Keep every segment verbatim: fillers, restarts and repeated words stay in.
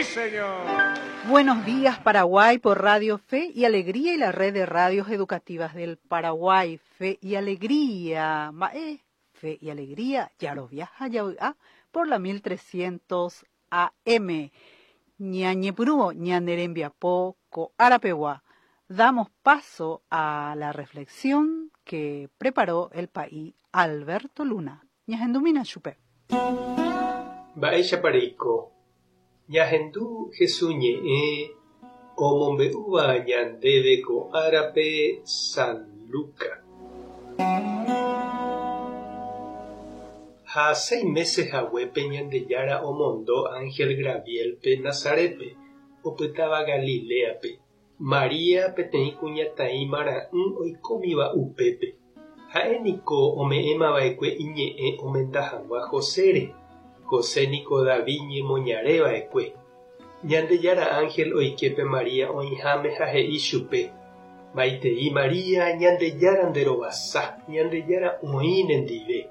señor. Buenos días, Paraguay, por Radio Fe y Alegría y la red de radios educativas del Paraguay. Fe y Alegría. Mae, Fe y Alegría, Yaroviaja Yaoa, por la mil trescientos A M. Ñañepyrũ, ñane rembiapo, ko árapegua. Damos paso a la reflexión que preparó el pa'i Alberto Luna. Ñahendumína chupe. Mba'éichapa reiko. Ñahendu Jesús ñe'ẽ omombe'úva ñandéve ko árape San Lucas. Ha seis meses haguépe Ñandejára omondo ángel Gabrielpe Nazaretpe, opytáva Galileape, María peteĩ kuñataĩ marã'ỹ oikómiva upépe. Ha'éniko ome'ẽmava'ekue iñe'ẽ omenda hag̃ua Josére. José niko David ñemoñareva'ekue. Ñandejára ángel oike pe María oĩháme ha he'i chupe: Maitei María, Ñandejára nderovasa, Ñandejára oĩ nendive.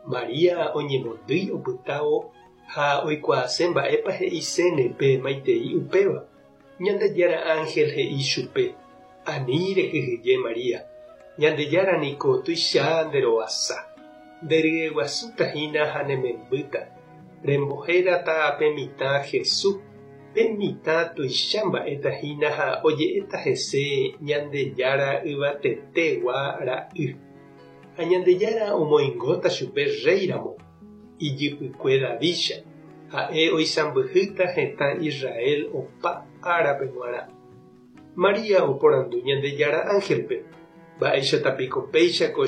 María oñemondýi opytávo ha oikuaase mba'épa he'iséne pe maitei upéva. Ñandejára ángel he'i chupe: Ani rekyhyje María, Ñandejára niko tuicha nderovasa. Nderyeguasutahína ha nemembýta. Rembohérata pe mitã Jesús. Pe mitã tuicha mba'etahína ha oje'éta hese Ñandejára Yvatetegua ra'y. Ha Ñandejára omoingóta chupe réiramo, ijypykue Davídcha, ha'e oisãmbyhýta hetã Israel opa árape g̃uarã. María oporandu Ñandejára ángelpe: Mba'éichatapiko péicha ko